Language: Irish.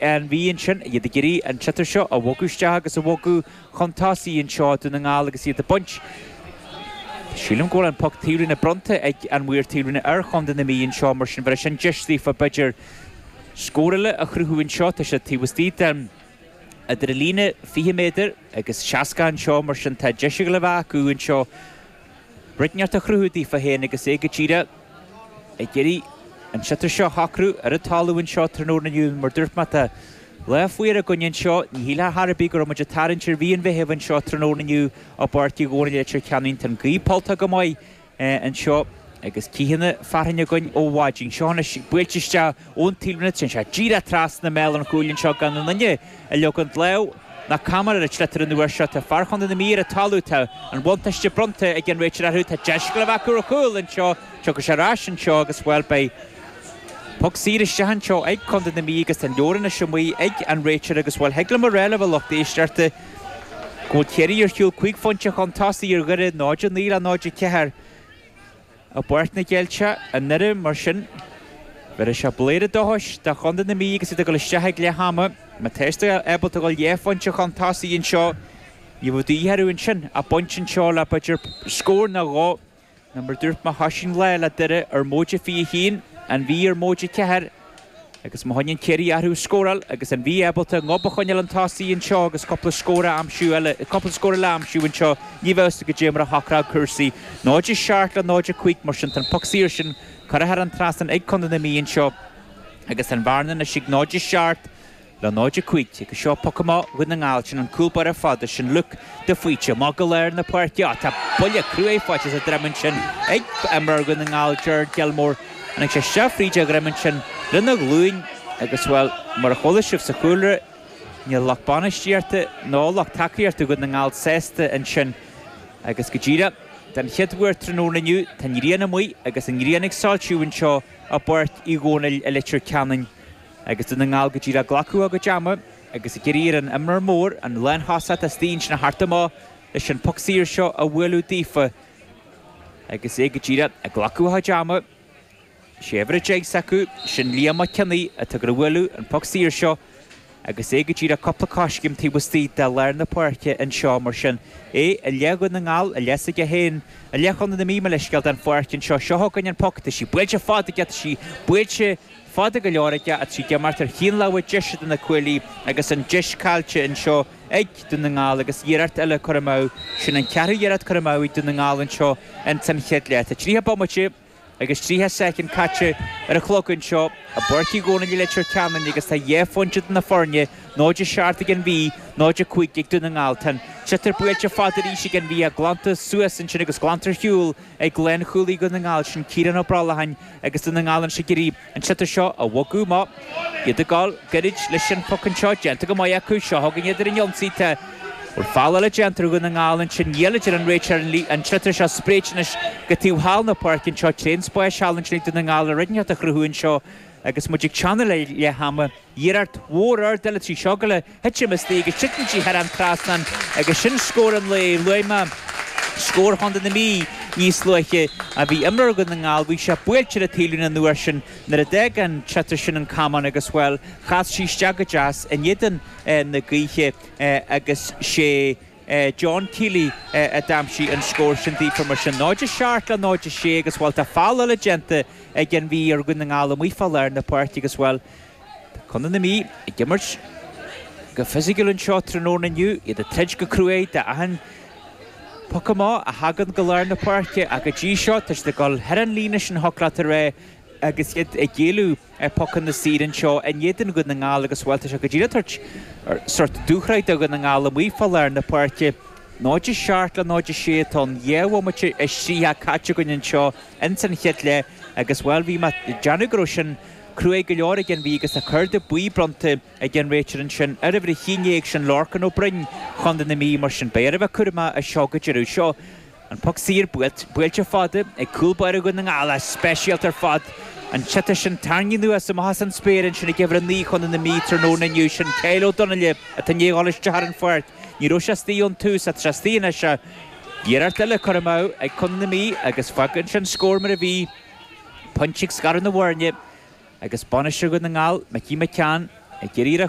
An Mhí ansin, iad ag iarraidh an sliotar seo a bhogadh isteach agus a bhogadh chun tosaigh anseo Dún na nGall agus iad ag baint. Sílim go bhfuil an poc taobhlíne bronnta ag an mhaor taobhlíne ar chontae na Mí anseo, mar sin bheadh sin deis daofa b'fhéidir scór eile a chruthú anseo. Tá siad taobh istigh den idir an líne 20 méadar agus 60 anseo, mar sin tá deis ag dul a bheith acu anseo. Rud inteacht a chruthú daofa féin agus é go díreach ag iarraidh an sliotar seo a shocrú ar an talamh anseo tráthnóna inniu. Mar dúirt mé, tá lá fuar againn anseo. Ní shílfeá chor ar bith go raibh muid ag tarraingt ar mhí an Mheithimh anseo tráthnóna inniu i bPáirc Uí Dhónaill i Leitir Ceanainn. Tá an ghaoth polltach go maith anseo agus cítheanna fearthainne againn ó mhaidin. Seo anois buailte isteach ón taobhlíne, téann sé díreach trasna mbéal an chúil anseo gan aon duine ag leogaint lámh ná camán ar an tsliotar an uair seo. Tá fear Chontae na Mí ar an talamh, tá an bhuntáiste bronnta ag an réiteoir orthu, tá deis ag dul a bheith acu ar chúl anseo, tiocfaidh sé ar ais anseo agus, bhuel, beidh poc saor isteach anseo ag Contae na Mí agus tá an leabhar anois amuigh ag an réiteoir agus, bhuel, thig liom a rá libh a lucht éisteachta go bhfuil Ciarraí ar shiúl 5 phointe chun tosaigh ar Dhoire, 0-9 le 0-4. I bPáirc na gCeilteach i nDoire mar sin, bhéarfaidh sé blúire dóchais do chontae na Mí agus iad ag dul isteach ag leath ama. Má tá siad ábalta dul dhá phointe chun tosaigh anseo, ní bheadh de dhíth orthu ansin ach pointe anseo le b'fhéidir scór nó dhó. Nó mar a dúirt mé thoisigh an lá le Doire ar móide 21, an Mhí ar móide 4. Agus má choinníonn Ciarraí orthu ag scóráil agus an Mhí ábalta a ngob a choinneáil chun tosaigh anseo agus cúpla scór a aimsiú eile, cúpla scór eile a aimsiú anseo, ní bheadh a fhios agat goidé mar a shocródh cúrsaí. 0-7 le 0-5 mar sin tá an poc saor sin curtha thar an trasnán ag Contae na Mí anseo agus tá an bhearna anois ag 0-7 le 0-5 agus seo poc amach Dhún na nGall. Sin an cúl báire fada sin Luke de Faoite. Amach go lár na páirce. Á, tá buille cruaidh faighte sa droim ansin ag imreoir Dhún na nGall, Gerard Gilmore. Tháinig sé isteach fríd a dhroim ansin lena ghlúin agus, bhuel, mar a chuala sibh sa chúlra, níl lucht bainistíochta ná lucht tacaíochta Dhún na nGall sásta ansin agus go díreach den chéad uair tráthnóna inniu tá an ghrian amuigh agus an ghrian ag soilsiú anseo i bPáirc Uí Dhónaill i Leitir Ceanainn. Agus Dún na nGall go díreach ag glacadh a gcuid ama agus ag iarraidh ar an imreoir mór, an lánthosach atá istigh ansin a theacht amach leis an bpoc saor seo a bhualadh daofa agus é go díreach ag glacadh a chuid ama. Sé uimhir 10 s'acu, sin Liam Mac Cionnaith atá ag bualadh an poc saor seo agus é go díreach cúpla coiscéim taobh istigh de lár na páirce anseo. Mar sin, é i leith Dhún na nGall, i leith s'aige féin, i leith Chontae na Mí, mo leithscéal, den pháirc anseo. Seo chugainn an poc, tá sí buailte fada aige, tá sí buailte. Fada go leor aige tá sí ag imeacht ar thaobh na láimhe deise de na cuaillí agus an deis caillte anseo ag Dún na nGall agus iarracht eile curtha amú. Sin an ceathrú iarracht curtha amú ag Dún na nGall anseo ins an chéad leath. Tá 30 bomaite agus 30 soicind caite ar an chlog anseo i bPáirc Uí Dhónaill i Leitir Ceanainn agus tá dhá phointe idir na foirne, 0-7 ag an Mhí, 0-5 ag Dún na nGall. Tá an sliotar buailte fada arís ag an Mhí ach glanta suas ansin agus glanta ar shiúl ag lánchúlaí Dhún na nGall, sin Ciarán Ó Brollacháin. Agus Dún na nGall anois ag iarraidh an sliotar seo a bhogadh amach. Iad ag gabháil gairid leis an phoc anseo. Déanta go maith acu. Seo chugainn iad ar an ionsaí. Tá bhfuil feall eile déanta ar Dhún na nGall ansin. Níl, a deir an réiteoir. An sliotar seo spréite anois go taobh thall na páirce anseo. Tréan spáis thall ansin ag Dún na nGall le rud inteacht a chruthú anseo agus muid ag teannadh le leath ama. Iarracht mhór ard eile tá sí seo ag gabháil a thitim istigh agus titeann sí thar an trasnán agus sin scór an lae. Luaigh mé scór Chontae na Mí níos luaithe ach bhí imreoir Dhún na nGall, bhí sé buailte ar an taobhlíne an uair sin nuair a d'fhág an tsliotar sin an camán agus, bhuel, chas sí isteach go deas in éadan na gaoithe agus sé John Kiely a d'aimsigh an scór sin daofa mar sin. 0-7 le 0-6 agus, bhuel, tá feall eile déanta ag an Mhí ar Dhún na nGall amuigh fá lár na páirce agus, bhuel, Tá Contae na Mí ag imirt go fisiciúil anseo tráthnóna inniu, iad ag troid go cruaidh d'achan poc amach a thagann go lár na páirce ach go dtí seo tá siad ag dul thar an líne sin thiocfadh leat a rá agus iad ag géilleadh pocanna saora anseo in éadan Dhún na nGall agus bhuel tá sé go díreach ag tabhairt sórt dúshraith do Dhún na nGall amuigh fá lár na páirce. 0-7 le 0-6 atá ann, 2 bhomaite is 30 caite againn anseo ins an chéad leath agus bhuel bhí mé ag déanamh go raibh sin Cruaidh go leor ag an Mhí agus tá cárta buí bronnta ag an réiteoir ansin ar uimhir 11, sin Lorcan Ó Broin, Chontae na Mí. Mar sin, beidh orthu a bheith cúramach as seo go deireadh. Seo an poc saor buailte fada ag cúl báire Dhún na nGall. Ah, speisialta ar fad an sliotar sin tarraingthe anuas amach as an spéir ansin ag uimhir 9 Chontae na Mí tráthnóna inniu. Sin Kyle Ó Donnaile atá i ndiaidh dhul isteach ar an pháirc. Ní raibh sé istigh ón tús ach tá sé istigh anois. Iarracht eile curtha amú ag Contae na Mí agus fágann sin scór mar a bhí. Pointe ag scaradh na bhfoirne agus bainisteoir Dhún na nGall, Micí McCann. Ag iarraidh ar a.